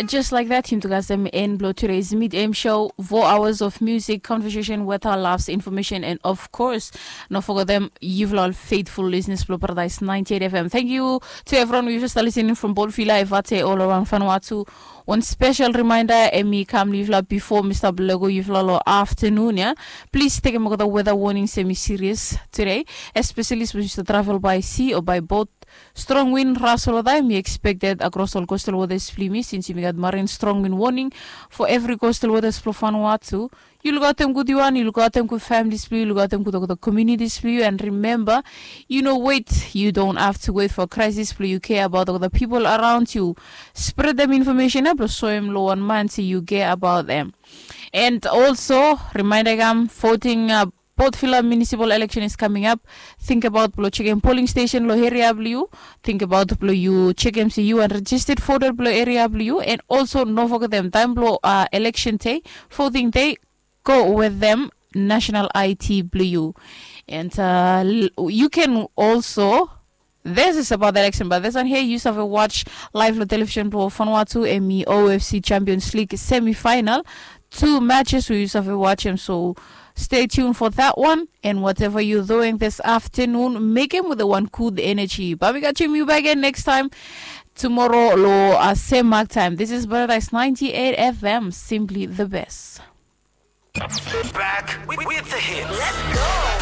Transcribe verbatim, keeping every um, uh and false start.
Just like that, yumi tu kasem en blong today's Meet Em Show. Four hours of music, conversation, weather, laughs, information, and of course, no forgetem yufala ol faithful listeners blong Paradise ninety-eight F M. Thank you to everyone we just listening from Port Vila, Evate, all around Vanuatu. One special reminder, em i kam long yufala before mi stap lego yufala long afternoon, ya. Please tekem olgeta weather warnings em i serious today, especially sapos yu stap travel by sea or by boat. Strong wind, ras olgeta em i expected across ol coastal waters blong yumi, since yumi gat marine strong wind warning for every coastal waters blong Vanuatu. Yu lukaotem gud yu wan, yu lukaotem gud families blong yu, yu lukaotem gud olgeta communities blong yu, and remember, yu no wait, you don't have to wait for crisis blong yu care about olgeta people around you. Spread dem information ya blong soem long wan man se yu care about them. And also, reminder kam, voting, uh, Port Vila municipal election is coming up. Think about blong chekem polling station long area blong yu. Think about blong yu chekem se yu wan registered voter blong area blong yu. And also, no forgetem taem blong, uh, election day, voting day, go wetem national I D blong yu. And, uh, l- you can also, this is about the election, but this one here, yu save watch live long television blong Vanuatu, em i O F C Champions League semi-final. Two matches we yu save watch em, so stay tuned for that one. And whatever you're doing this afternoon, make it with one good energy. Bae mi catch yu back again next time tomorrow long, uh, same mark time. This is Paradise ninety-eight F M, simply the best. Back with, with the hits.